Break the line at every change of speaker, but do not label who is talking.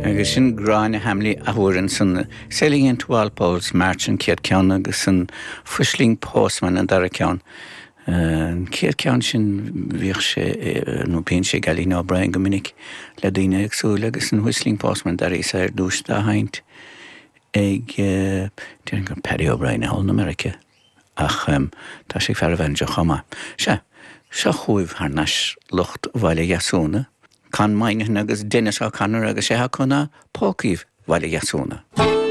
Agus sin Gráinne Hamley athuair ansan, Sailing into Walpole's March an chéad ceann agus an Whistling Postman an dara ceann. An chéad ceann sin bhíodh sé, nó bíonn sé ag Ailín O'Brien go minic le daoine éagsúla agus an Whistling Postman d'airíos é ar dtús dá sheinnt ag, déarfainn gur Paddy O'Brien thall in America. Ach tá sé ag fear an bhanjo chomh maith. Sea, seo chugaibh thar n-ais lucht Bhaile Dheasúna, Con Moynihan agus Denis O'Connor agus sé acu ná Pócaíbh Bhaile Dheasúna.